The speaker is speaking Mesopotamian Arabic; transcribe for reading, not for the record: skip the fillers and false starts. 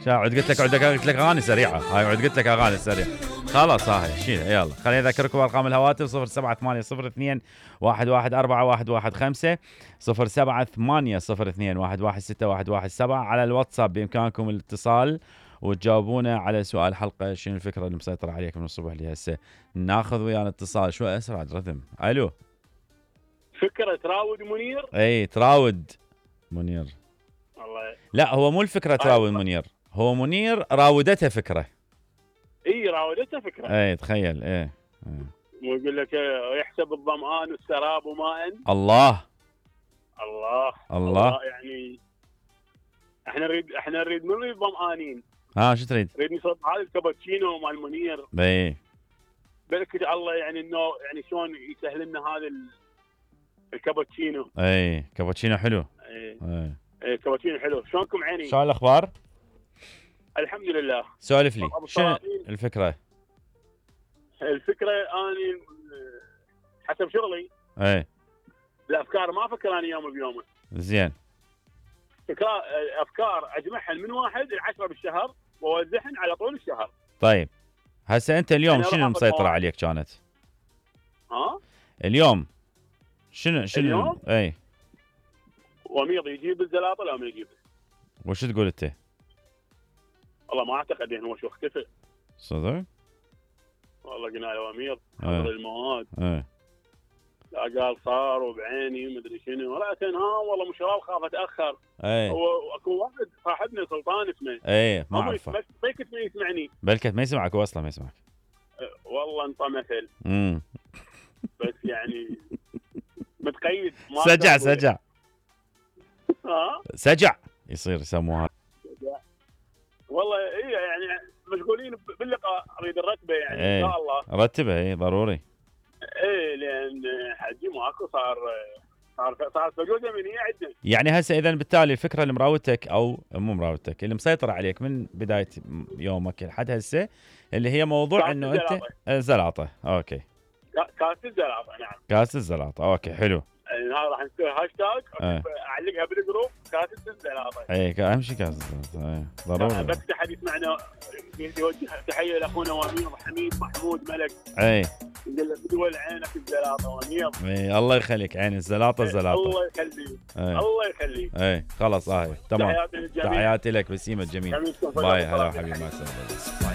عد قلت لك اغاني سريعه، هاي عد قلت لك اغاني سريعه. خلاص هاي شيلها يلا. خليني اذكركم ارقام الهواتف 07802 11415 07802 116 على الواتساب. بامكانكم الاتصال وتجاوبونا على سؤال حلقه شنو الفكره اللي مسيطره عليك من الصبح لهسه. ناخذ ويانا اتصال شو اسرع رتم. الو فكره تراود منير. اي تراود منير. الله لا هو مو الفكره تراود منير، هو منير راودته فكره. اي راودته فكره. اي تخيل. اي ويقول لك يحسب الظمآن والسراب ماء. الله الله الله. يعني احنا نريد من نريد ظمآنين. شو تريد؟ نريد نصب هذا الكابتشينو مال منير. اي بالك الله يعني انه يعني شلون يسهل لنا هذا الكابتشينو. اي كابتشينو حلو. اي كابتشينو حلو. شلونكم عيني؟ شو الاخبار؟ الحمد لله. سولف لي شنو الفكره؟ الفكره اني حسب شغلي اي الافكار ما افكر اني يوم بيومه. زين. افكار اجمعها من 1 ل 10 بالشهر واوزعهن على طول الشهر. طيب هسه انت اليوم شنو مسيطره عليك كانت؟ اليوم شنو اليوم؟ اي وميض يجيب الزلاطه لو ما يجيب. وش تقول انت؟ والله ما اعتقد انه هو شو اختفى. صدق؟ والله قلنا له امير حضر المواد. لا قال صار وبعيني مدري شنو. ورأت والله مو شراب خاف اتاخر. هو اكو واحد صاحبنا سلطان اسمه. ما اعرفه. بلكت ما يسمعني. بلكت ما يسمعك هو اصلا ما يسمعك. والله انت مثل. بس يعني متقيد. سجع سجع يصير يسموها. والله ايه يعني مشغولين باللقاء. اريد الرتبه يعني ان شاء الله. رتبها ضروري. لان حجي ماكو صار فجوده من هي عندنا. يعني هسه اذا بالتالي الفكره اللي مراودتك او مو مراودتك اللي مسيطره عليك من بدايه يومك لحد هسه اللي هي موضوع انه انت الزلاطه. اوكي كاس الزلاطه. نعم كاس الزلاطه. اوكي حلو. هذا راح نسوي هاشتاج اعلقها بالجروب كاس الزلاطه. اهم شيء كاس الزلاطه. ضروري. بس احد يسمعنا يوجه تحيه لاخونا وامير حميد محمود ملك. يقول له بدول عينك الزلاطه وامير. الله يخليك عين الزلاطه الزلاطه. الله يخليك. الله يخليك. خلاص تمام. تحياتي لك بسيمه جميل. باي هلا حبيبي مع السلامه.